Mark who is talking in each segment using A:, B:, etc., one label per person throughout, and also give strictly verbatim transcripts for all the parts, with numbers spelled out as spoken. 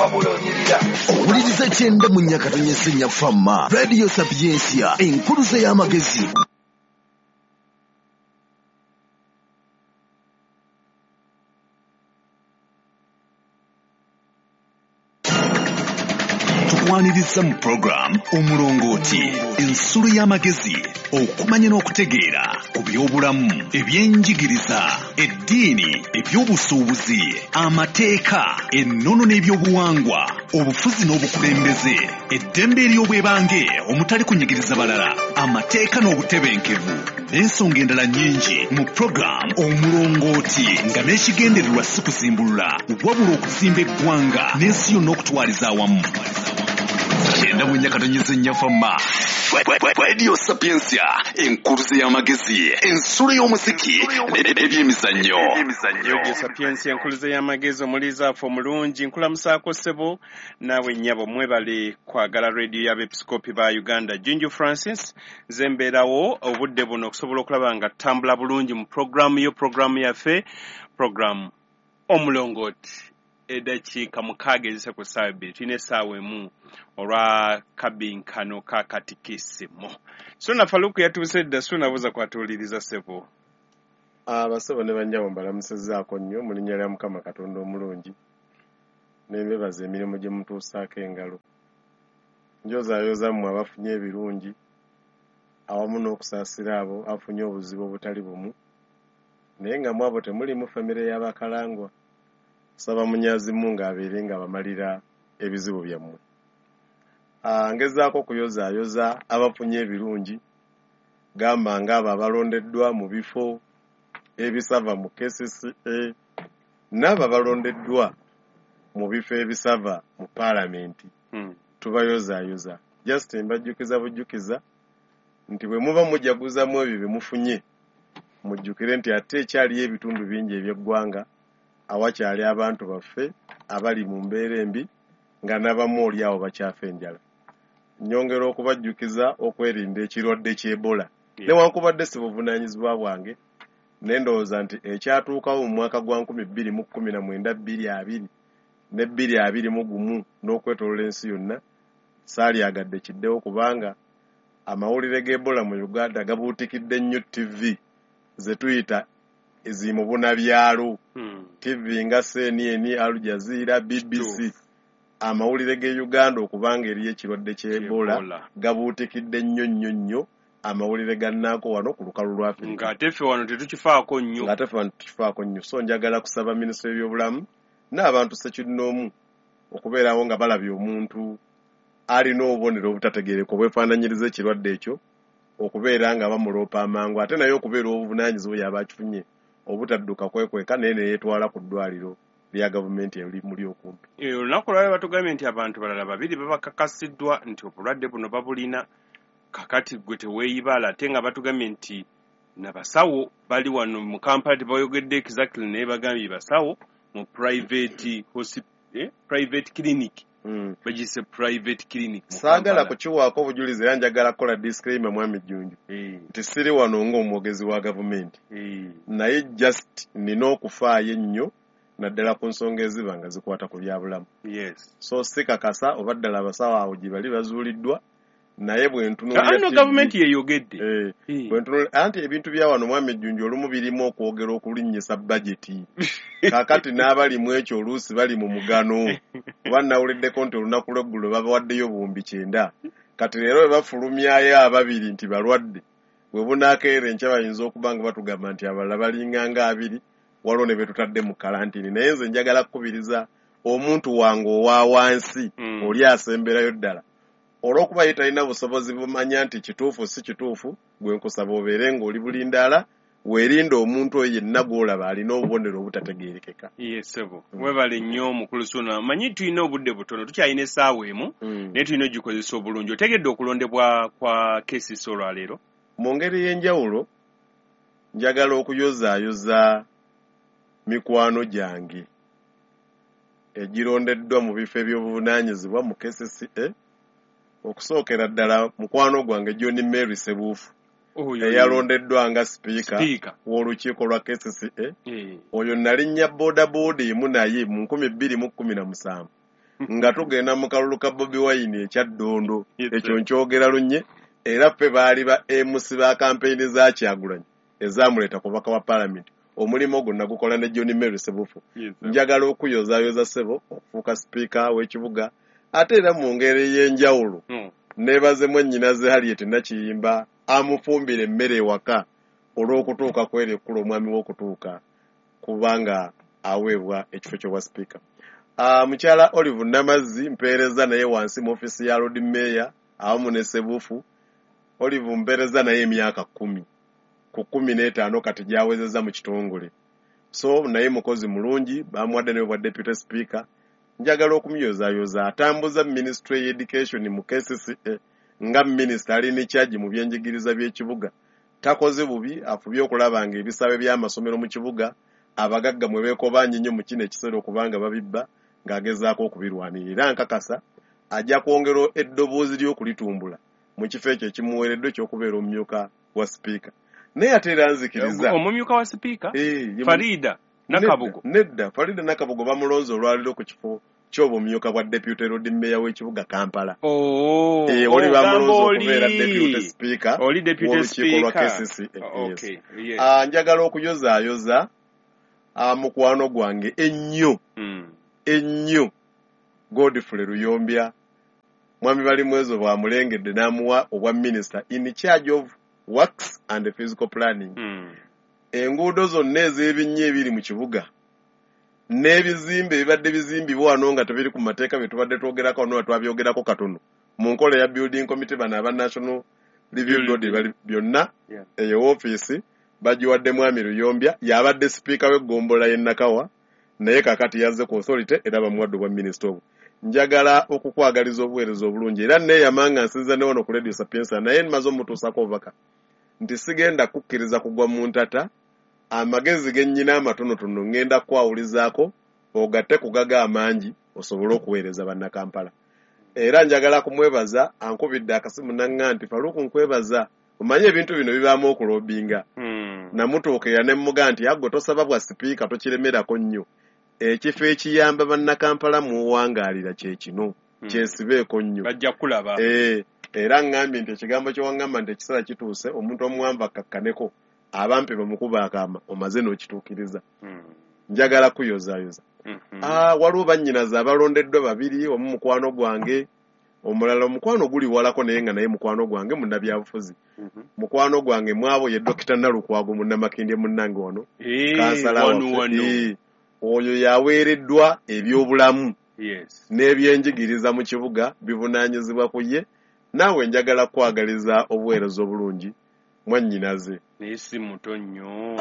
A: Wabula onyirira.
B: Owuliriza kyenda mu Nyakatonyese Nyafama, Radio Sapientia, enkuluze y'amagezi. Tukwaniriza mu program Omulongooti, ensulo y'amagezi, okumanya n'okutegeera ku by'obulamu, ebyenjigiriza, eddiini, ebyobusuubuzi, amateeka, ennono n'ebyobuwangwa, obufuzi n'obukulembeze, eddembe ery'obwebange omutali kunyigiriza balala, amateeka n'obutebenkevu, n'ensonga endala nnyingi mu program Omulongooti, nga n'ekigendererwa si kuzimbulula wabula okuzimba eggwanga n'ensi yonna okutwaliza awamu. Kyenda mu Nyakatonyeze Nyafama, Radio Sapientia, enkuluze y'amagezi, ensulo y'omuziki n'ebyemizannyo.
C: Radio Sapientia, enkuluze y'amagezi, omuliza affe omulungi, nkulamusaako ssebo naawe nnyabo, mwebale kwagala radio y'abeepisikoopi ba Uganda. Junju Francis nze mbeerawo obudde buno okusobola okulaba nga tutambula bulungi mu programu yo, programu yaffe, programu Omulongooti. Eddakiika mukaaga ezise ku ssaawa ebbiri, tulina essaawa emu olwa kabinkano ka katikisimu. Suna Faluku yatuuse dda. Suna buza kwatuwuliriza ssebo.
D: Abasebo ne bannyabo mbalamusizzaako nnyo mu linnya lya Mukama Katonda omulungi, ne mbebaza emirimu gye mutuusaako engalo. Njozaayoza mmwe abafunye ebirungi awamu n'okusaasira abo abafunye obuzibu obutali bumu, naye nga mu abo temulimu famire y'Abakalangwa. Saba Munyazimu ng'abeere nga bamalira ebizibu byammwe. Ngezaako okuyozaayoza abafunye ebirungi, gamba ng'abo abalondeddwa mu bifo ebisava mu K C C A n'abo abalondeddwa mu bifo ebisava mu paalamenti.
C: Hmm.
D: Tubayozaayoza. Just mbajjukiza bujjukiza nti bwe muba mujaguzamu ebyo bye mufunye, mujjukire nti ate ekyaliyo ebitundu bingi eby'eggwanga awakyali abantu baffe abali mu mbeera embi nga n'abamu oli awo bakyafa enjala. Nnyongera okubajjukiza okwerinda ekirwadde ky'Ebola. Newankubadde si buvunaanyizibwa bwange, ne ndowooza nti ekyatuukawo mu mwaka gwa nkumi bbiri mu kkumi na mwenda bbiri abiri ne bbiri abiri mu gumu n'okwetooloola ensi yonna saalyagadde kiddewo, kubanga amawulire g'Ebola mu Uganda gabuutikidde nnyo T V ze tuyita ezimubunabyalo.
C: Hmm.
D: T V nga C N N, Al Jazeera, B B C. Amawulire ge Uganda okubanga eriyo ekirwadde ky'Ebola gabuutikidde nnyo nnyo nnyo amawulire gannaako wano ku lukalu lwa Afrika.
C: Ng'ate ffe wano tetukifaako nnyo.
D: Ng'ate ffe wano tetukifaako nnyo. So njagala kusaba minisitule y'ebyobulamu n'abantu ssekinnoomu okubeerawo nga balabye omuntu alina obubonero obutategeereka obwefaananyiriza ekirwadde ekyo, okubeera nga bamuloopa amangu, ate naye okubeera obuvunaanyizibwa yaba akifunye obutadduka kwekweka naye ne yeetwala ku ddwaliro lya gavumenti erimuli okumpi.
C: Olunaku lwaleero batugambye nti abantu balala babiri babakakasiddwa nti obulwadde buno babulina, kakati gwe teweeyibala, ate nga batugambye nti nabasawo bali wano mu Kampala tebayogedde exactly, naye bagambye basawo mu private hospital, eh, private clinic.
D: Mm.
C: Bagiyise private clinic.
D: Saagala kukiwaako obujulizi era njagala kukola disclaimer mwami Jjunju.
C: Mm.
D: Nti siri wano ng'omwogezi wa gavumenti.
C: Mm.
D: Naye just nina okufaayo ennyo naddala ku nsonga eziba nga zikwata ku byabulamu.
C: Yes.
D: So sikakasa oba ddala abasawo awo gye bali bazuuliddwa, naye bwe ntunuulira
C: Ano gavumenti yeyogedde.
D: Eh, bwe ntunuulira anti ebintu bya wano mwami Jjunju olumu birimu okwogera okulinnyisa bajeti. Kaakati n'abali mu ekyo oluusi bali mu mugano. Kuba nawuliddeko nti olunaku lw'eggulo babawaddeyo buwumbi kyenda. Kati leero bwe bafulumyayo ababiri nti balwadde, bwe bunaakeera enkya bayinza okuba nga batugamba nti abalala balinga nga abiri, waliwo ne be tutadde mu kalantini. Naye nze njagala kukubiriza omuntu wange owa wansi,
C: mm.
D: oli asemberayo ddala. Olw'okuba ye talina busobozi bumanya nti kituufu si kituufu, gwe nkusaba obeere ng'oli bulindaala, weerinde omuntu oyo yenna gw'olaba alina obubonero obutategeerekeka.
C: Yes, ssebo. Weebale nnyo mukulu Suna. Manyi tulina obudde butono, tukyalina essaawa emu, naye tulina ogikozesa obulungi. Otegedde okulondebwa kwa K C C olwaleero?
D: Mu ngeri y'enjawulo, njagala okuyozaayoza mikwano gyange egirondeddwa mu bifo eby'obuvunaanyizibwa mu K C C A. Okusookera ddala mukwano gwange John Mary Sebuufu eyalondeddwa nga sipiika w'olukiiko lwa K C C A. Oyo nalinnya boodabooda emu naye mu nkumi bbiri mu kkumi na musanvu. Nga tugenda mu kalulu ka Bobi Wine ekya Ddondo, ekyo nkyogera lunye, era ffe baali ba M C ba kampeyini za Kyagulanyi ezamuleeta ku bubaka wa Paalamenti. Omulimu ogwo nagukola ne John Mary Sebufu. Njagala okuyozaayoza ssebo okufuuka sipiika w'ekibuga, ate era mu ngeri ey'enjawulo neebaze mwannyinaze Harriet Nakiyimba amufumbira emmere ewaka olw'okutuuka kw'eri ekkulu omwami w'okutuuka kubanga aweebwa ekifo ky'obwa sipiika. Uh, mukyala Olive Namazzi mpeereza naye wansi mu ofiisi ya Lord Mayor awamu ne Sebufu. Olive mpeereza naye emyaka kkumi ku kkumi n'etaano kati gy'awezezza mu kitongole. So naye mukozi mulungi, bamuwadde naye obwa deputy speaker. Njagala okumuyozaayoza atambuza Ministry Education mu K C C A nga minisita ali ne charge mu byenjigiriza by'ekibuga. Takoze bubi, afubye okulaba ng'ebisaawe by'amasomero mu kibuga abagagga mwe beekobaanye nnyo mu kino ekiseera okubanga babibba ng'agezaako okubirwanirira. Era nkakasa ajja kwongera eddoboozi ly'okulitumbula mu kifo ekyo ekimuweereddwa eky'okubeera omumyuka wa sipiika. Naye ate era nzikiriza
C: omumyuka wa sipiika Farida Nakabugo.
D: Nedda, Farida Nakabugo bamulonze olwaliro ku kifo ky'obumyuka bwa deputy Lord Mayor w'ekibuga Kampala.
C: Oh,
D: eh, oli bamulonze okubeera deputy speaker,
C: oli deputy speaker
D: K C C A.
C: Okay, yes.
D: Ah, njagala okuyozaayoza mukwano gwange ennyo ennyo Godfrey Luyombya. Mwami Balimwezo bw'amulengedde n'amuwa obwa minister in charge of works and physical planning.
C: Mm.
D: Enguudo zonna ez'ebinnya ebiri mu kibuga n'ebizimbe ebibadde bizimbibwa wano nga tebiri ku mateeka bye tubadde twogerako wano twabyogerako katono mu nkola ya building committee, bano aba National Review Board byonna, eyo woofiisi bagiwadde Mwami Luyombya, y'abadde sipiika w'eggombolola y'e Nakawa, naye kaakati yazze ku authority era bamuwadde obwa minisita obwo. Njagala okukwagaliza obuweereza obulungi era neeyama nga nsinza ne wano ku Radio Sapientia, naye mmaze omutuusaako obubaka nti sigenda kukkiriza kugwa mu ntata. Amagezi ge nnyina amatonotono ŋŋenda kukwawulizaako ogatte ku gaga amangi osobole okuweereza Bannakampala. Era njagala kumwebaza, ankubidde akasimu naŋŋa nti Faruku nkwebaza, omanye ebintu bino bibaamu okulobinga.
C: Mm.
D: Namutuukira ne mmuga nti agwe tosaba bwa sipiika tokiremerako nnyo. Ekifo ekiyamba Bannakampala muwangaalira kye kino,
C: mm.
D: kyesibeeko nnyo.
C: Bajja kulaba.
D: Eh, era ŋŋambye nti ekigambo kye waŋŋamba nti ekiseera kituuse omuntu omuwanvu akkakkaneko abampe bamukuba akaama omaze n'okituukiriza.
C: Mm.
D: Njagala kuyozaayoza.
C: Mm -hmm.
D: Ah, waliwo bannyinaze abalondeddwa babiri, omu mukwano gwange, omulala omukwano guli walako naye nga naye mukwano gwange munnabyabufuzi.
C: Mm -hmm.
D: Mukwano gwange mwabo ye Dokita Nalukwago munnamakindye munnange wano.
C: Hey,
D: kansala waffe. Oyo yaweereddwa ebyobulamu
C: yes,
D: n'ebyenjigiriza mu kibuga bivunaanyizibwa ku ye. Naawe njagala kwagaliza obuweereza obulungi mwannyinaze.
C: Naye si muto nnyo,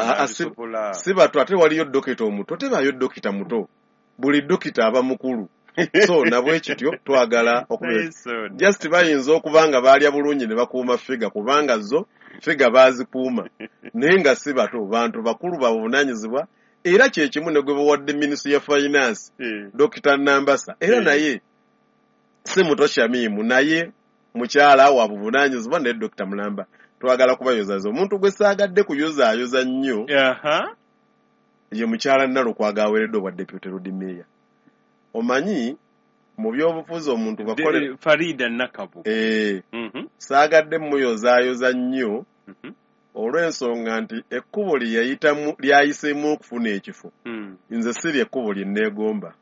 D: si bato, ate waliyo dokita omuto, tebaayo dokita muto, buli dokita aba mukulu. So nabwe kityo twagala okubeera just bayinza okuba nga baalya bulungi ne bakuuma figa, kubanga zo figa baazikuuma, naye nga si bato, bantu bakulu babuvunaanyizibwa. Era kye kimu ne gwe bawadde Minisitule ya Finance, Dokita Nambasa, era naye si muto Shamimu, naye mukyala wa buvunaanyizibwa ne Dokita Mulamba. Twagala kubayozayoza. Omuntu gwe saagadde kuyozaayoza nnyo ye mukyala Nalukwago aweereddwa obwa deputy Lord Mayor. Omanyi mu byobufuzi omuntu bakole
C: Farida Nakabugo.
D: Eh, saagadde muyozaayoza nnyo olw'ensonga nti ekkubo lye yayitamu lyayiseemu okufuna ekifo, nze siri ekkubo lye neegomba.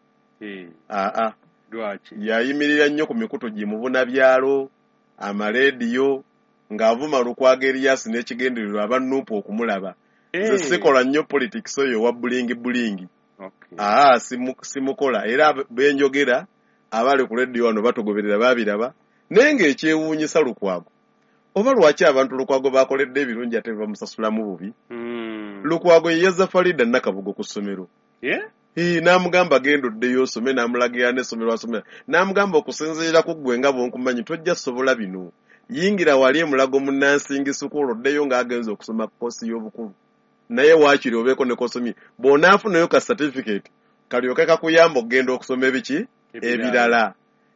D: Aa,
C: lwaki?
D: Yayimirira nnyo ku mikutu gimubunabyalo, amaleediyo, ng'avuma Lukwago Erias n'ekigendererwa aba Nuupu okumulaba. Nze sikola nnyo politics oyo owa bulingi bulingi. Aa, simukola. Era benjogera abali ku leediyo wano batugoberera babiraba, naye ng'ekyewuunyisa Lukwago oba lwaki abantu Lukwago bakoledde ebirungi ate bamusasulamu bubi.
C: Mm.
D: Lukwago ye yazza Farida Nakabugo ku ssomero.
C: Yeah?
D: Eh, n'amugamba genda oddeyo osome, n'amulagira n'essomero asomera. N'amugamba okusinziira ku ggwe nga bw'onkumanyi tojja sobola bino. Yingira wali emulago munnansingi sukulu oddeyo ng'agenze okusoma kkosi y'obukulu. Naye waakiri obeeko ne kosomye. Bw'onaafunayo ka certificate kalyoke kakuyamba okugenda okusoma ebiki? Ebirala.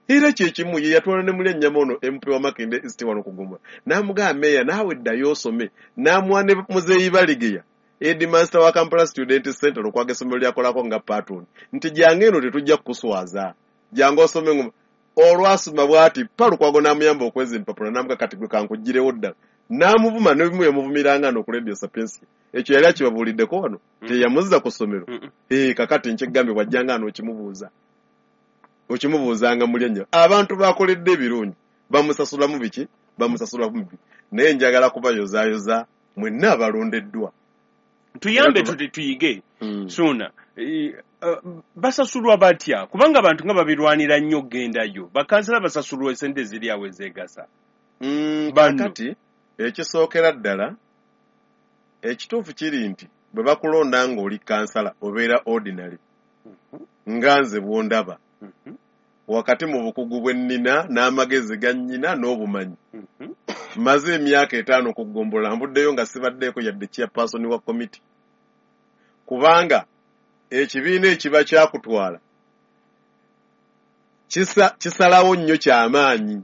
D: Era kye kimu ye yatwala ne muli ennyama ono M P wa Makindye East wano ku Ggombolola. N'amugamba meeya naawe ddayo osome. N'amuwa ne Muzeeyi Baligeya, headmaster wa Kampala Student Center, Lukwago essomero lyakolako nga patron, nti jangu eno tetujja kukuswaza. Jangu osome ngoma. Olwasoma bw'ati pa Lukwago n'amuyamba okweza empapula n'amuga kati gwe kankugirewo ddala. N'amuvuma n'ebimu yamuvumiranga no ku Radio Sapientia. Ekyo yali akibabuuliddeko wano teyamuzza ku ssomero. Eh, kakati nkyegambye bw'ajjanga ano okimubuuza. Okimubuuzanga muli ennyo. Abantu bakoledde ebirungi bamusasulamu biki? Bamusasulamu bibi. Naye njagala kubayozaayoza mwenna abalondeddwa.
C: Tuyambe tuti tuyige. Ssuuna. Basasulwa batya? Kubanga abantu nga babirwanira nnyo okgendayo. Bakansala basasulwa esente ziri awo ezeegasa.
D: Kakati ekisookera ddala ekituufu kiri nti bwe bakulonda ng'oli kansala obeera ordinary nga nze bw'ondaba wakati mu bukugu bwe nnina n'amagezi ga nnyina n'obumanyi. Mmaze emyaka etaano ku ggombolola nvuddeyo nga sibaddeeko yadde chairperson wa committee kubanga ekibiina ekiba kyakutwala kisalawo nnyo kyamaanyi.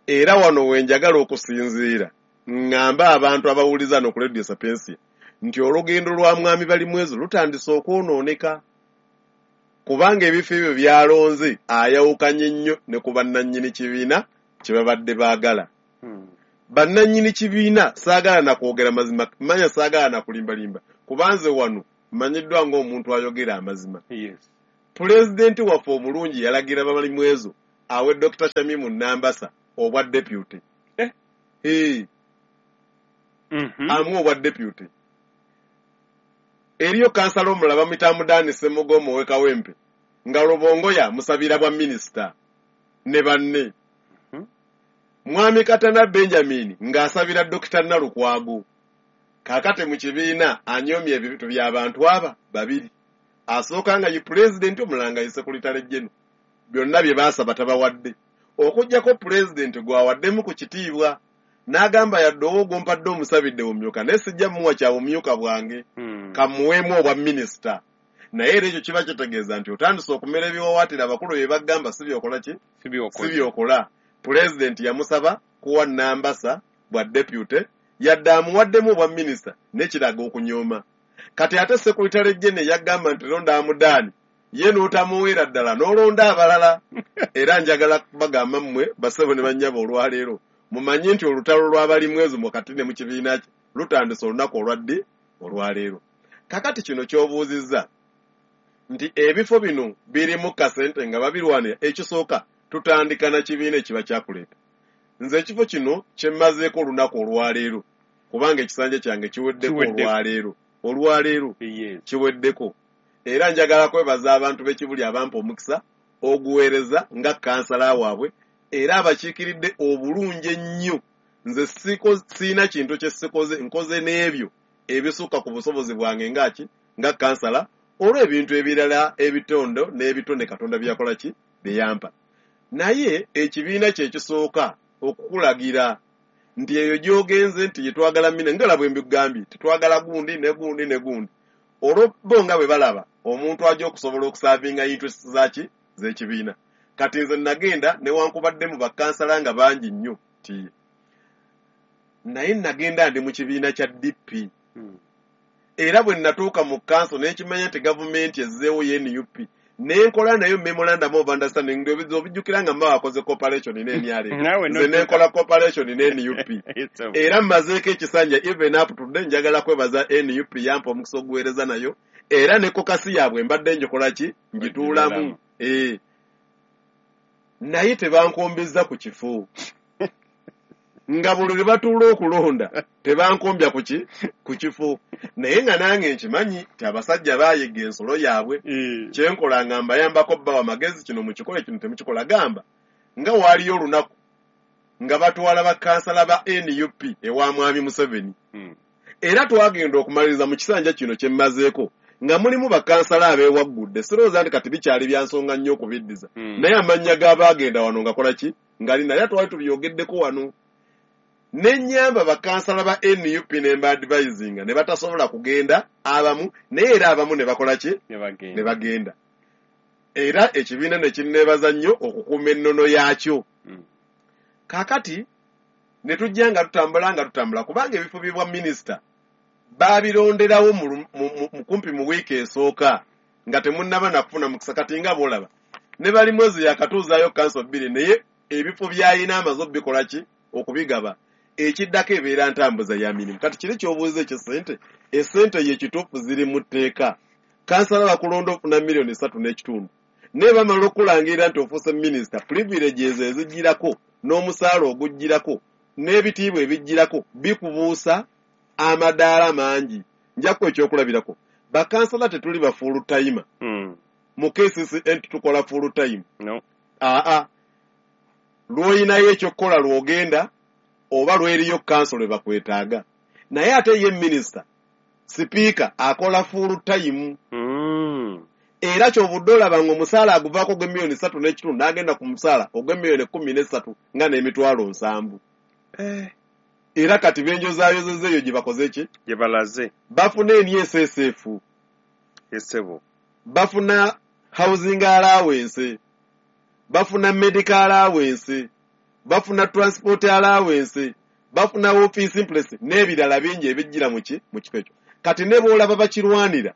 D: Era wano we njagala okusinziira ŋŋamba abantu abawuliza no ku Radio Sapientia nti olugendo lwa Mwami Balimwezo lutandise okwonooneka kubanga ebifo ebyo byalonze ayawukanye nnyo ne ku bannannyini kibiina kye babadde baagala. Bannannyini kibiina saagala na kwogera mazima, manya saagala na kulimbalimba kubanze wano mmanyiddwa ng'omuntu ayogera amazima. Pulezidenti waffe omulungi yalagira Balimwezo awe Dokita Shamimu Nambasa obwa deputy.
C: Eh?
D: Hey.
C: Mm-hmm.
D: Amu obwa deputy. Eriyo kansala omulala bamuyita Mudani Ssemugomo ow'e Kawempe nga Lubongoya musabira bwa minisita ne banne.
C: Mm-hmm.
D: Mwami Katana Benjamin ng'asabira Dokita Nalukwago. Kaakati mu kibiina anyoomye ebintu by'abantu aba babiri. Asooka nga ye pulezidenti omulala nga ye Secretary General. Byonna bye baasaba tabawadde. Okuggyako pulezidenti gw'awaddemu ku kitiibwa n'agamba yadde owo mpadde omusabidde bumyuka naye sijja mmuwa kya bumyuka bwange kamuweemu obwa minisita. Naye era ekyo kiba kitegeeza nti otandise okumera ebiwawaatiro abakulu bye bagamba si byokola ki? Si byokola. Pulezidenti yamusaba kuwa Nambasa bwa deputy yadde amuwaddemu obwa minisita n'ekiraga okunyooma. Kati ate Secretary General yagamba nti londa Amudaani ye n'otamuweera ddala n'olonda abalala. Era njagala kubagamba mmwe bassebo ne bannyabo olwaleero mumanye nti olutalo lw'Abalimwezo wakati ne mu kibiina kye lutandise olunaku olwadde olwaleero. Kakati kino ky'obuuzizza nti ebifo bino birimu kasente nga babirwanira, ekisooka tutandika na kibiina ekiba kyakuleeta. Nze ekifo kino kye mmazeeko olunaku olwaleero kubanga ekisanja kyange kiweddeko olwaleero olwaleero kiweddeko. Era njagala kwebaza abantu b'Ekibuli abampa omukisa oguweereza nga kansala waabwe era abakiikiridde obulungi ennyo. Nze siina kintu kye sikoze, nkoze n'ebyo ebisukka ku busobozi bwange ngaki nga kansala olw'ebintu ebirala ebitondo n'ebitone Katonda bye yakola ki bye yampa. Naye ekibiina kye kisooka okukulagira nti eyo gy'ogenze nti yetwagala mina ngala bwe mbigambye tetwagala gundi ne gundi ne gundi. Olwo bo nga bwe balaba omuntu ajja okusobola okusaavinga interest zaaki z'ekibiina. Kati nze nagenda newankubadde mu bakansala nga bangi nnyo ti naye nagenda ndi mu kibiina kya D P. Era bwe natuuka mu kanso n'ekimanya nti gavumenti ezzeewo ye N U P nenkola nayo memorandum of understanding obijjukira nga mba akoze cooperation ne N R M. Nze nenkola cooperation ne N U P. Era mmazeeko ekisanja even up to today njagala kwebaza N U P yampa omukisa oguweereza nayo era ne kokasi yaabwe mbadde njikola ki ngituulamu. Eh. Naye tebankombezza ku kifo. Nga buli lwe batuula okulonda tebankombya ku ki ku kifo. Naye nga nange nkimanyi nti abasajja baayega ensolo yaabwe. Kye nkola nga mbayambako bbawa magezi kino mukikole kino temukikola gamba. Nga waaliyo olunaku nga batwala bakansala ba N U P ewa Mwami Museveni. Era twagenda okumaliriza mu kisanja kino kye mmazeeko nga mulimu bakansala abeewaggudde. Sirowooza nti kati bikyali bya nsonga nnyo okubiddiza. Naye amannya g'abaagenda wano nga kola ki ngali naye twali tubyogeddeko wano. Nennyamba bakansala ba N U P ne mba advisinga ne batasobola kugenda abamu naye era abamu ne bakola ki ne bagenda. Era ekibiina ne kinneebaza nnyo okukuuma ennono yaakyo. Kaakati ne tujja nga tutambula nga tutambula kubanga ebifo by'obwa minisita baabironderawo mu kumpi mu wiiki esooka nga temunnaba na kufuna mukisa. Kati nga bw'olaba Ne bali mwezi yakatuuzaayo kanso bbiri, naye ebifo by'alina amaze obikola ki okubigaba. Ekiddako ebeera ntambuza ya mirimu. Kati kiri ky'obuuza eky'essente, essente ye kituufu ziri mu tteeka. Kansala bakulonda ofuna miliyoni ssatu n'ekitundu, naye bamala okulangirira nti ofuuse minisita, privileges ezigirako n'omusaala ogugirako n'ebitiibwa ebigirako bikubuusa amadaala mangi. Nja kuwa ekyokulabirako, bakansala tetuli ba full timer.
C: Mm.
D: Mu K C C N tukola full time.
C: No.
D: Aa, lw'olinayo ekyokukola lw'ogenda oba lweriyo kanso lwe bakwetaaga. Naye ate ye minisita, sipiika akola full time.
C: Mm.
D: Era ky'ovudde olaba ng'omusaala aguvaako gw'emiliyoni ssatu n'ekitundu n'agenda ku musaala ogw'emiliyoni kkumi n'essatu nga n'emitwalo nsanvu.
C: Eh.
D: Era kati benjozaayozezza eyo gye bakoze ki?
C: Gye balaze.
D: Bafuna N S S F.
C: Essebo.
D: Bafuna housing allowance. Bafuna medical allowance. Bafuna transport allowance. Bafuna office impress n'ebirala bingi ebijjira mu ki? Mu kifo ekyo. Kati ne bw'olaba bakirwanira,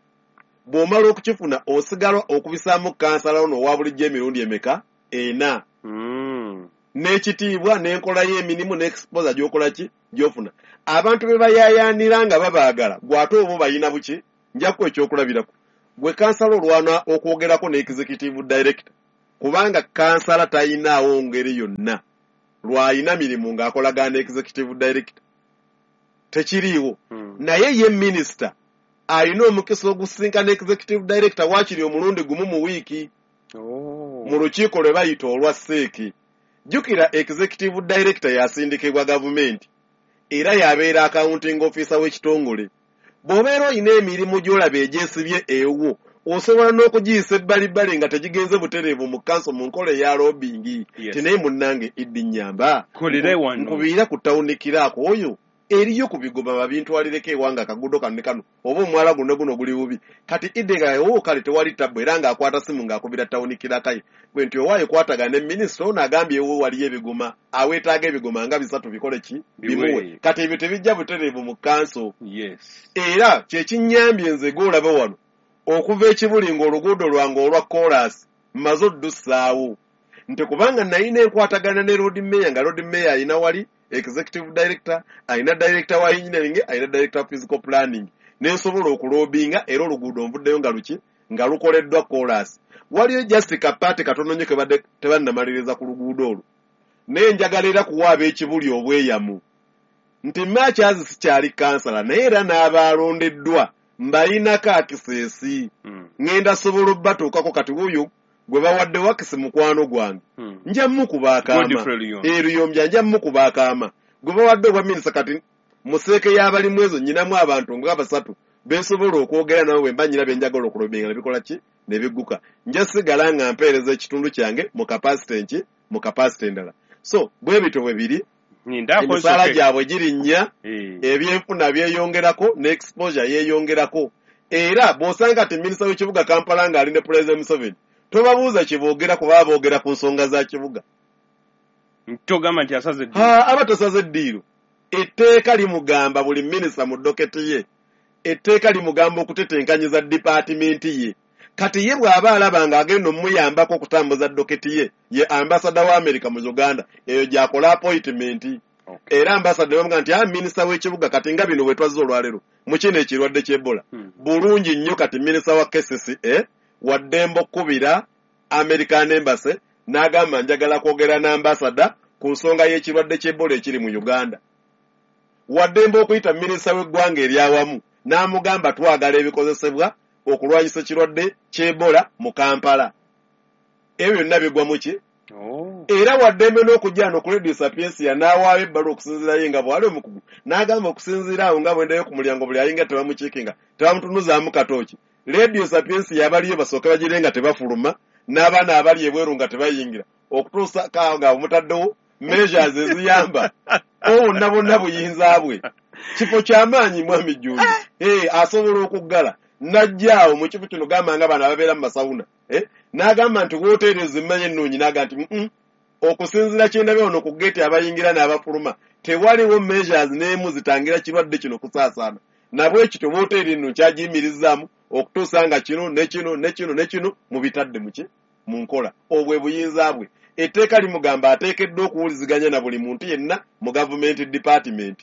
D: bw'omala okukifuna osigala okubisaamu kansala ono owa bulijjo emirundi emeka? Ena.
C: Mm.
D: N'ekitiibwa n'enkola y'emirimu n'exposure gy'okola ki? Gy'ofuna. Abantu be bayaayaanira nga babaagala, gw'ate oba obayina buki? Nja kuwa ekyokulabirako. Gwe kansala olwana okwogerako ne executive director, kubanga kansala tayinaawo ngeri yonna lw'ayina mirimu ng'akolagana ne executive director. Tekiriiwo.
C: Mm.
D: Naye ye minisita alina omukisa ogusinkana executive director waakiri omulundi gumu mu wiiki.
C: Oh.
D: Mu lukiiko lwe bayita olwa seeki. Jjukira executive director yasindikibwa gavumenti era y'abeera accounting officer w'ekitongole. Bw'obeera olina emirimu gy'olaba egyesibye ewuwo, osobola n'okugiyisa ebbalibbali nga tegigenze butereevu mu kanso mu nkola eya lobbying.
C: Yes.
D: Ti naye munnange Iddi nnyamba.
C: Kolere wano.
D: Nkubiira ku tawuni kiraako oyo eriyo ku bigoba babintwalireko ewange akagudo kano ne kano oba omwala guno guno guli bubi. Kati Iddi nga wo kale tewali tabbu era ng'akwata simu ng'akubira tawuni kiraka ye. Bwe nti owaaye kwatagana ne minisita ono agambye ewo waliyo ebigoma, aweetaaga ebigoma nga bisatu bikole ki?
C: Bimuwe.
D: Bimuwe. Kati ebyo tebijja butereevu mu kanso.
C: Yes.
D: Era kye kinnyambye nze gw'olaba wano okuva ekibuli ng'oluguudo lwange olwa koolaasi mmaze oddussaawo. Nti kubanga nalina enkwatagana ne Lord Mayor, nga Lord Mayor alina wali executive director, alina director wa engineering, alina director wa physical planning. Nensobola okulobinga era oluguudo nvuddeyo nga luki? Nga lukoleddwa koolaasi. Waliyo just kapaati katono nnyo ke badde tebannamaliriza ku luguudo olwo. Naye njagala era kuwa ab'ekibuli obweyamu nti Mathias sikyali kansala, naye era n'abaalondeddwa mbayinako akiseesi.
C: Mm.
D: Ŋŋenda sobola obbatuukako kati wuuyo gwe bawadde wakisi mukwano gwange.
C: Mm.
D: Nja mmukuba akaama.
C: Godfrey Luyombya.
D: Eh, Luyombya nja mmukuba akaama. Gwe bawadde obwa minisita kati museeke y'abalimu ezo nnyinamu abantu nga basatu bensobola okwogera nabo bwe mba nnyina bye njagala okulobinga ne bikola ki? Ne bigguka. Nja sigala nga mpeereza ekitundu kyange mu capacity nki? Mu capacity endala. So bwe bityo bwe biri.
C: Ninda
D: Emisaala
C: akoze
D: gyabwe girinnya,
C: Eh.
D: ebyenfuna byeyongerako ne exposure yeeyongerako. Era bw'osanga ati minisita w'ekibuga Kampala ng'ali ne President Museveni, tobabuuza kye boogera kuba boogera ku nsonga za kibuga.
C: Togamba nti asaze eddiiro.
D: Ha, aba tasaze eddiiro. Etteeka limugamba buli minisita mu doketi ye. Etteeka limugamba okutetenkanyiza dipaatimenti ye. Kati ye bw'aba alaba ng'agenda omuyambako okutambuza doketi ye, ye ambasada wa America mu Uganda, eyo gy'akola appointment.
C: Okay.
D: Era ambasada bamugamba nti, ah, minisita w'ekibuga kati nga bino bwe twazze olwaleero mu kino ekirwadde ky'Ebola.
C: Hmm.
D: Bulungi nnyo kati minisita wa K C C A waddembe okukubira American Embassy n'agamba njagala kwogera n'ambasada ku nsonga y'ekirwadde ky'Ebola ekiri mu Uganda. Waddembe okuyita minisita w'eggwanga eryawamu n'amugamba twagala ebikozesebwa okulwanyisa ekirwadde ky'Ebola mu Kampala. Ebyo byonna bigwa mu ki?
C: Oh.
D: Era waddembe n'okujja wano ku Radio Sapientia n'awaayo ebbaluwa okusinziira ye nga bw'ali omukugu. N'agamba okusinziira awo nga bwendayo ku mulyango buli ayingira tebamukiikinga, tebamutunuzaamu katooki. Radio Sapientia abaliyo basooke bagire nga tebafuluma, n'abaana abali ebweru nga tebayingira. Okutuusa kaawo nga mutaddewo measures eziyamba. Obwo bonna bonna buyinza bwe. Kifo ky'amaanyi mwami Jjumba. Eh, asobola okuggala. N'ajja awo mu kifo kino gamba nga bano ababeera mu masawuna. Eh, n'agamba nti wooteeri ezimanyi ennungi, n'agamba nti, mm-mm, okusinziira kye ndabye wano ku ggeeti abayingira n'abafuluma, tewaliwo measures n'emu zitangira kirwadde kino kusaasaana. Nabwe kityo wooteeri nno kyagiyimirizaamu okutuusa nga kino ne kino ne kino ne kino mubitadde mu ki? mu nkola. Obwe buyinza bwe etteeka limugamba ateekeddwa okuwuliziganya na buli muntu yenna mu gavumenti department.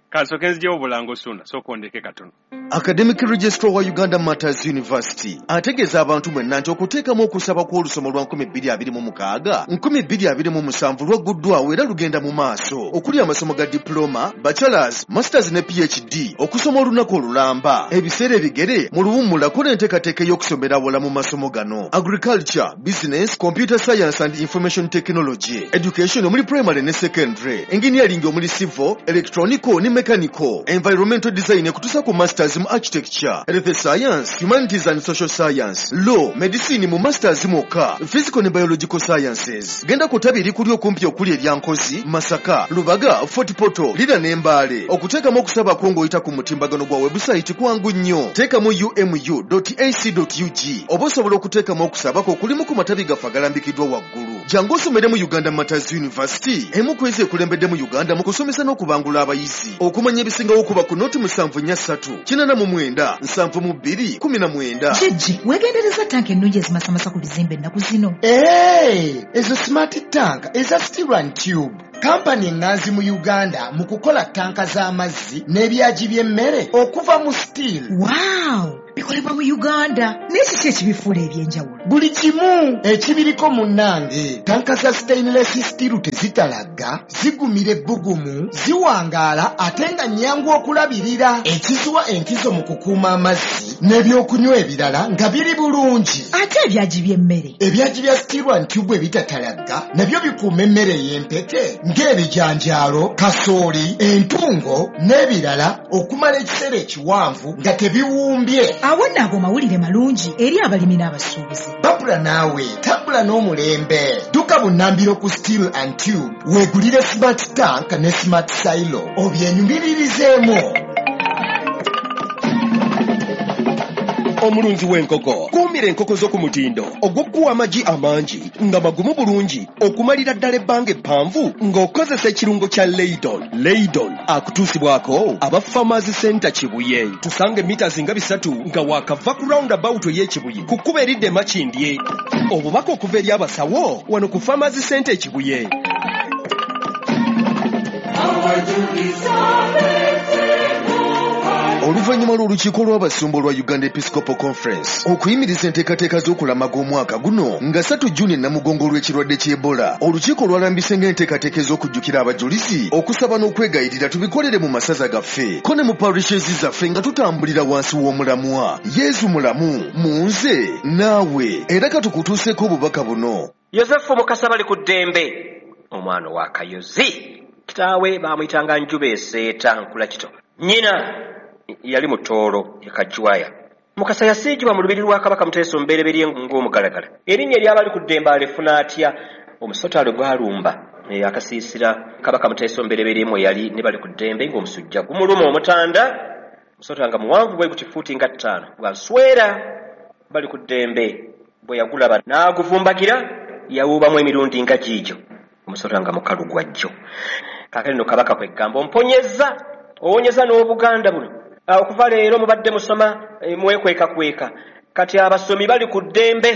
C: Kansooke nzijewo obulango Ssuuna, sooka ondeke katono.
B: Academic Registrar wa Uganda Martyrs University ategeeza abantu mwenna nti okuteekamu okusaba kw'olusoma lwa nkumi bbiri abiri mu mukaaga nkumi bbiri abiri mu musanvu lwagguddwawo era lugenda mu maaso, okuli amasomo ga diploma, bachelors, masters ne P H D, okusoma olunaku olulamba, ebiseera ebigere, mu luwummula kola enteekateeka ey'okusomera awala mu masomo gano: agriculture, business, computer science and information technology, education omuli primary ne secondary, engineering omuli civil, electronical ne mechanical, environmental design ekutuusa ku masters mu architecture, health science, humanities and social science, law, medicine mu masters mwokka, physical ne biological sciences. Genda ku ttabi erikuli okumpi okuli erya Nkozi, Masaka, Lubaga, Fort Portal, Lira ne Mbale. Okuteekamu okusaba kwo ng'oyita ku mutimbagano gwa website kwangu nnyo. Teekamu umu dot ac dot ug oba osobola okuteekamu okusaba kwo kulimu ku matabi gaffe agalambikiddwa waggulu. Jangu osomere mu Uganda Martyrs University, emu ku ezo ekulembedde mu Uganda mu kusomesa n'okubangula abayizi. Okumanya ebisingawo kuba ku noti musanvu nnya ssatu kinaana mu mwenda nsanvu mu bbiri kumi na mwenda.
A: Jjajja, weegendereza tanka ennungi ezimasamasa ku bizimbe ennaku zino.
E: Ee, ezo smart tank eza Steel and Tube, kampani eŋŋanzi mu Uganda mu kukola tanka z'amazzi n'ebyagi by'emmere okuva mu steel.
A: Wow, bikolebwa mu Uganda, naye kiki ekibifuula ebyenjawulo?
E: Buli kimu ekibiriko munnange. Tanka za stainless steel tezitalagga, zigumira ebbugumu, ziwangaala ate nga nnyangu okulabirira, ekiziwa enkizo mu kukuuma amazzi n'ebyokunywa ebirala nga biri bulungi.
A: Ate ebyagi by'emmere?
E: Ebyagi bya Steel and Tube ebitatalagga nabyo bikuuma emmere ey'empeke ng'ebijanjaalo, kasooli, entungo n'ebirala okumala ekiseera ekiwanvu nga tebiwumbye.
A: Awo nno ago mawulire malungi eri abalimi n'abasuubuzi.
E: Babula naawe tambula n'omulembe. Dduka bunnambiro ku Steel and Tube weegulire smart tank ne smart silo obyenyumiririzeemu.
F: Omulunzi w'enkoko, kuumira enkoko zo ku mutindo ogw'okuwa amagi amangi nga magumu bulungi okumalira ddala ebbanga eppanvu ng'okozesa ekirungo kya Leidon. Leidon akutuusibwako aba Farmers Center Kibuye. Tusanga emita nga bisatu nga waakava ku roundabout ey'Ekibuye ku kkubo eridda e Makindye. Obubaka okuva eri abasawo wano ku Farmers Center Ekibuye.
B: Oluvannyuma lw'olukiiko lw'abasumba olwa Uganda Episcopal Conference okuyimiriza enteekateeka z'okulamaga omwaka guno nga ssatu Juni Namugongo olw'ekirwadde ky'Ebola, olukiiko lwalambise ng'enteekateeka ez'okujjukira abajulizi, okusaba n'okwegayirira tubikolere mu masaza gaffe ko ne mu parishes zaffe nga tutambulira wansi w'omulamwa Yezu mulamu mu nze naawe. Era katukutuuseeko obubaka buno.
G: Yosefu Mukasa bali ku ddembe, omwana wa Kayozi. Kitaawe baamuyitanga Njuba Eseeta Nkula Kito, nnyina yali Mutoolo Ekajwaya. Mukasa yasiigibwa mu lubiri lwa Kabaka Muteesa Omubereberye ng'omugalagala. Erinnya eryabali ku ddembe alifuna atya? Omusota gwalumba akasiisira Kabaka Muteesa Omubereberye mwe yali ne bali ku ddembe ng'omusujja gumuluma omutanda. Omusota nga muwanvu bwe guti, fuuti nga ttaano, gwanswera. Bali ku ddembe bwe yagulaba n'aguvumbagira, yawuubamu emirundi nga giigyo. Omusota nga mukalu gwa jjo. Kaakati nno Kabaka kwegamba, "Omponyezza, owonyeza n'Obuganda buno. Okuva leero mubadde musoma mwekwekakweka, kati abasomi bali ku ddembe,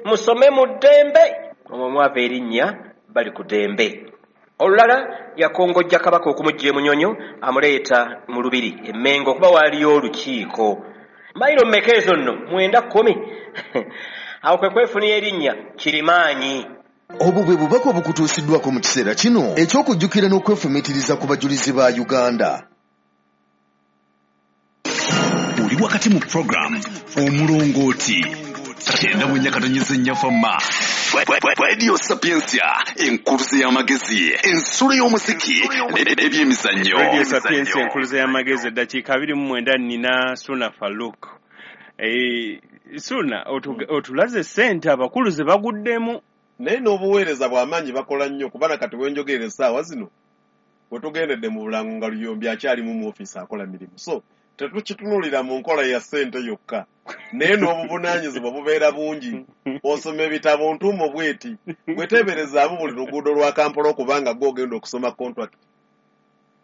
G: musome mu ddembe." Omwo mwava erinnya bali ku ddembe. Olulala yakongojja Kabaka okumugja Emunyonyo amuleeta mu lubiri Emmengo okuba waaliyo olukiiko. Mayiro mmeka ezo nno? Mwenda kkumi. Awo kwe kwefunira erinnya Kirimaanyi.
B: Obwo bwe bubaka obukutuusiddwako mu kiseera kino eky'okujjukira n'okwefumiitiriza ku bajulizi ba Uganda.
H: Oli wakati mu program Omulongooti kyenda mu nnya katonnyeze nnya Fama Radio Sapientia, enkuluze y'amagezi, ensulo y'omuziki n'ebyemizannyo.
C: Radio Sapientia, enkuluze y'amagezi. Eddakiika abiri mu mwenda. Nina Suna Faluk. Eh, Suna, otulaze ssente abakulu ze baguddemu.
D: Naye n'obuweereza bw'amaanyi bakola nnyo, kubana kati wenjogerera essaawa zino wetugendedde mu bulango nga Luyombi akyalimu mu ofiisi akola mirimu. So tetukitunuulira mu nkola ya ssente yokka, naye n'obuvunaanyizibwa bubeera bungi. Osoma ebitabo ntuumo bweti, bweteeberezaamu buli luguudo lwa Kampala okubanga gw'ogenda okusoma contract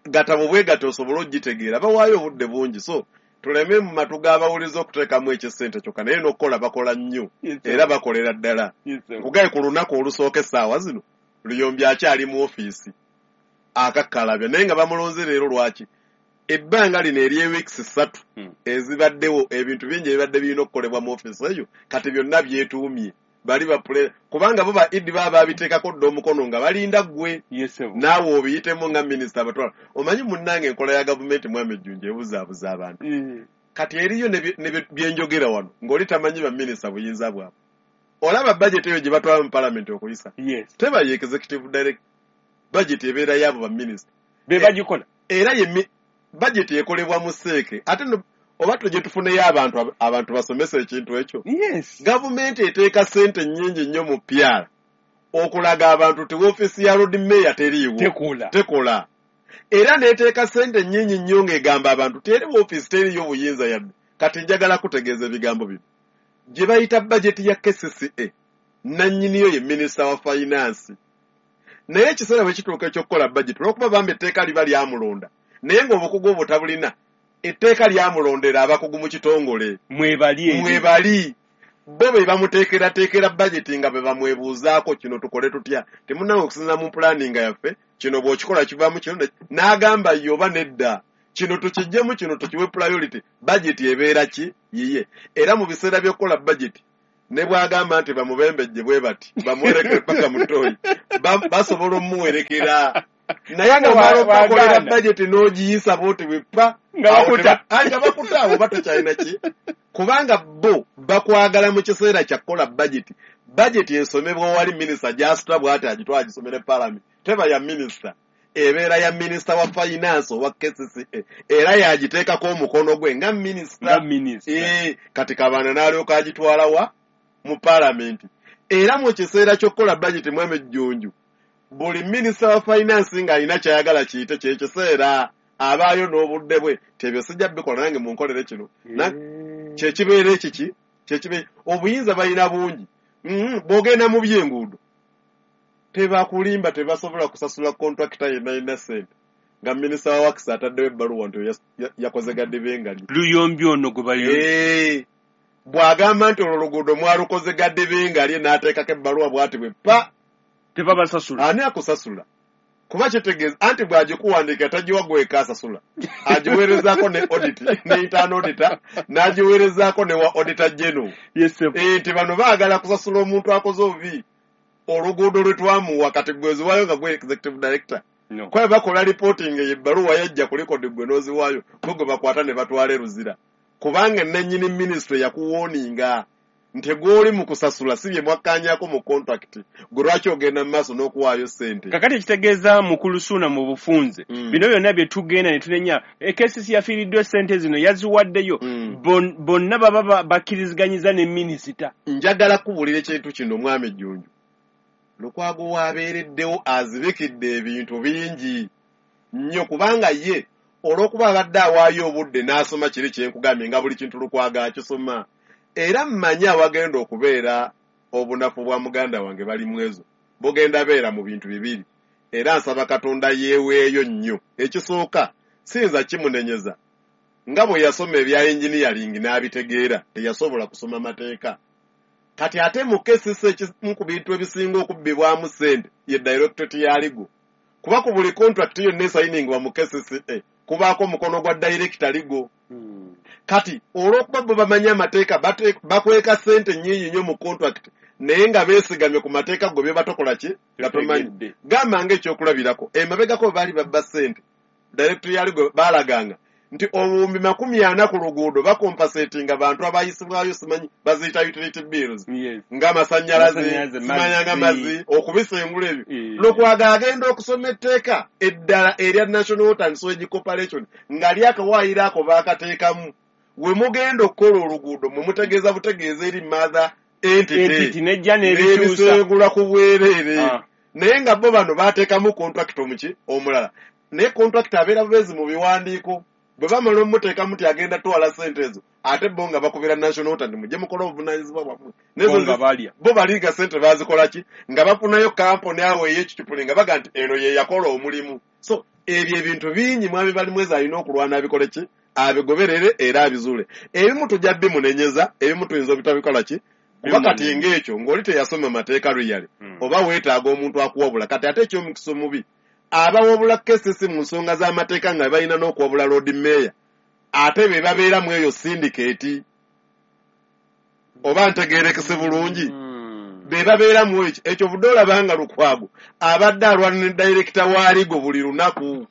D: gatabo bwe gati osobole ogitegeera, bawaayo obudde bungi. So Tuleme mu matu g'abawuliza okuteekamu ekisente kyokka, naye n'okukola bakola nnyo era bakolera ddala. Nkugaye ku lunaku olusooka essaawa zino Luyombi akyali mu ofiisi akakkalabya, naye nga bamulonze leero. Lwaki? Ebbanga lino ery'ewiikisi ssatu ezibaddewo, ebintu bingi ebibadde birina okukolebwa mu ofiisi eyo kati byonna byetuumye. Bali bapule kubanga bo ba E D baba babiteekako dda omukono nga balinda ggwe naawe obiyitemu nga minisita abatwala. Omanyi munnange, enkola ya gavumenti, mwami Ejjunju, ebuzaabuza abantu. Kati eriyo ne byenjogera wano ng'oli tamanyi baminisita buyinza bwabwe. Olaba bajeti eyo gye batwala mu palamenti okuyisa, teba ye executive director. Bajeti ebeera yaabo baminisita.
C: Be bagikola.
D: Era ye bajeti ekolebwa mu seeke. Ate oba tujje tufuneyo abantu, abantu basomesa ekintu ekyo. Gavumenti eteeka ssente nnyingi nnyo mu P R okulaga abantu nti woofiisi ya Lord Mayor teriiwo, tekola. Era n'eteeka ssente nnyingi nnyo ng'egamba abantu teri woofiisi, teriiyo buyinza yadde. Kati njagala kutegeeza ebigambo bino gye bayita bajeti ya K C C A, nannyiniyo ye minisita wa finance. Naye ekiseera bwe kituuka ekyokukola bajeti, olwokuba bamba etteeka liba lyamulonda, naye ng'obukugu obwo tabulina, etteeka lyamulondera abakugu mu kitongole.
C: Mwebali.
D: Mwebali bo be bamuteekerateekera bajeti nga be bamwebuuzaako, kino tukole tutya? Temunnange, okusinziira mu planning yaffe, kino bw'okikola kivaamu kino. N'agamba ye oba nedda, kino tukiggyemu, kino tukiwe priority. Bajeti ebeera ki yiye. Era mu biseera by'okukola bajeti, ne bw'agamba nti bamubembejje bwe bati bamuwerekere paka mutoyi, basobola omumuwerekera. Naye ng'omala okubakolera bajeti n'ogiyisa bwoti bwepa
C: nga bakuta.
D: Nga bakuta awo, oba tokyalina ki, kubanga bo bakwagala mu kiseera kya kukola bajeti. Bajeti esomebwa wali minisita gy'asitula bw'ati agitwala agisomere palamenti. Teba ya minisita, ebeera ya minisita wa finance owa K C C A, era yagiteekako omukono gwe nga minisita.
C: Nga
D: kati Kabanda n'alyoka agitwala wa mu palamenti. Era mu kiseera ky'okukola bajeti, mwami Ejjunju, buli minisita wa finance ng'alina kyayagala kiyite, kyekiseera abaayo n'obudde bwe tebyo sijja bikola, nange munkolere kino. Kyekibeera ekiki kyekibeera obuyinza balina bungi. mm, bw'ogenda mu byenguudo, tebakulimba, tebasobola kusasula kontrakita yenna yenna ssente nga minisita wa works ataddewo ebbaluwa nti yakoze gaddebengalye.
C: Luyombi ono gwe
D: bayo bw'agamba nti olwo luguudo mwalukoze gaddebengalye, n'ateekako ebbaluwa bw'ati bwe pa,
C: tebabasasula.
D: Ani akusasula? Kuba kitegeeza anti bw'agikuwandiika tagiwa gweka asasula, agiweerezaako ne audit, ne internal auditor, n'agiweerezaako ne wa auditor general nti bano baagala kusasula omuntu akoze obubi oluguudo lwe twamuwa. Kati gweziwaayo nga gwe executive director, kwabe bakola reporting eyo, ebbaluwa yajja ku record, gwe n'oziwaayo, gwe gwe bakwata ne batwala eruzira, kubanga nennyini ministry yakuwooninga nti gw'oli mu kusasula si bye mwakkaanyako mu contract. Gwe lwaki ogenda mu maaso n'okuwaayo ssente?
C: Kakati ekitegeeza, mukulu Suuna, mu bufunze,
D: Mm.
C: bino byonna bye tugenda ne tunenya, K C C yafiiriddwa essente zino, yaziwaddeyo,
D: Mm.
C: Bon- bonna baba ba- bakkiriziganyiza ne minisita.
D: Njagala kubuulira ekintu kino, mwami Jjunju. Lukwago waabeereddewo azibikidde ebintu bingi nnyo, kubanga ye olw'okuba abadde awaayo obudde n'asoma kiri kyenkugambye nga buli kintu Lukwago akisoma, era mmanyi awagenda okubeera obunafu bwa muganda wange bali mwezo bugenda beera mu bintu bibiri, era nsaba Katonda yeeweeyo nnyo. Ekisooka, siyinza kimunenyeza nga bwe yasoma ebya engineering n'abitegeera, teyasobola kusoma mateeka. Kati ate mu K C C, ekimu ku bintu ebisinga okubbibwamu ssente ye directorate ya legal, kuba ku buli contract yonna esayiningibwa mu K C C A kubaako omukono gwa director legal. Kati olw'okuba bo bamanyi amateeka, bate- bakweka ssente nnyingi nnyo mu contract, naye nga beesigamye ku mateeka gwe bye batokola ki nga tomanyi.
C: Totegedde.
D: Gamba nga ekyokulabirako, emabegako bwe baali babba ssente, director ya legal baalaganga nti obuwumbi makumi ana ku luguudo bakompensatinga bantu abayisibwayo, simanyi baziyita utility bills,
C: Yes.
D: ng'amasannyalaze,
C: Amasannyalaze,
D: simanya nga
C: mazzi.
D: Mazzi, okubisengula ebyo.
C: Eh.
D: Lukwago agenda okusoma etteeka eddala erya National Water and Sewage Corporation nga lyakawaayiro ako baakateekamu, we mugenda okukola oluguudo mwe mutegeeza butegeeza eri mother entity.
C: Entity nejja n'ebikyusa.
D: N'ebisengula ku bwereere.
C: Ah.
D: Naye nga bo bano bateekamu contract omuki omulala, naye contract abeera bubeezi mu biwandiiko. Bwe bamala omuteekamu nti agenda twala ssente ezo, ate bo nga bakubira National Water nti mujje mukole obuvunaanyizibwa bwammwe.
C: Bo nga balya.
D: Bo baliga ssente bazikola ki nga bafunayo kampuni awo ey'ekicupuli nga baga nti eno ye yakola omulimu. So ebyo ebintu bingi mwami Balimwezi alina okulwana abikole ki Abigoberere era abizuule. Ebimu tujja bimunenyeza, ebimu tuyinza obutabikola ki? Kuba kati ng'ekyo ng'oli teyasoma mateeka luyale,
C: Mm.
D: oba weetaaga omuntu akuwabula. Kati ate eky'omukisa omubi, abawabula K C C mu nsonga z'amateeka nga balina n'okuwabula Lord Mayor, ate be babeera mu eyo syndicate. Oba ntegeerekese bulungi?
C: Mm.
D: Be babeera mu ekyo. Ekyo budde olaba nga Lukwago abadde alwana ne director wa Ligo buli lunaku.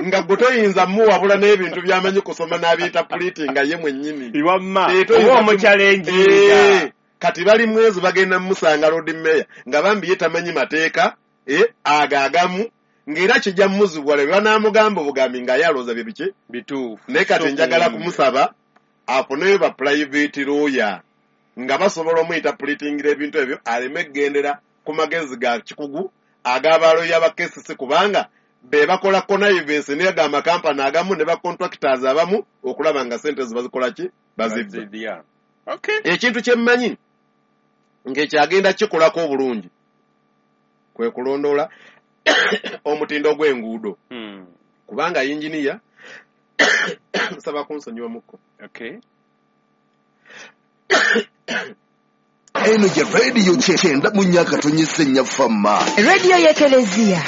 D: Nga gwe toyinza muwabula n'ebintu by'amanyi kusoma n'abiyita puliti nga ye mwennyini.
C: Iwamma,
D: Eh, toyinza
C: oba
D: kumu-
C: omuchallenginga.
D: Eh, kati bali mwezi bagenda mumusanga Lord Mayor nga bambi ye tamanyi mateeka, eh, ago agamu, ng'era kijja muzibwala bwe banaamugamba obugambi nga ye alowooza bye biki?
C: Bituufu.
D: Naye kati njagala
C: So,
D: kumusaba afuneyo ba private lawyer nga basobola omuyita pulitingira ebintu ebyo aleme kugendera ku magezi ga kikugu ag'abaloya ba K C C, kubanga be bakola connivance n'aga amakampani agamu ne ba contractors abamu okulaba nga ssente zo bazikola ki? Bazibba.
C: Bazibya. Okay.
D: Ekintu kye mmanyi ng'ekyagenda kikolako obulungi kwe kulondoola omutindo gw'enguudo.
C: Hmm.
D: Kubanga yinginiya nsaba kunsonyiwa mukko.
C: Okay.
F: Eno ye radio kyenda mu nnya akatonyeze nnya fama.
A: Radio y'Eklezia.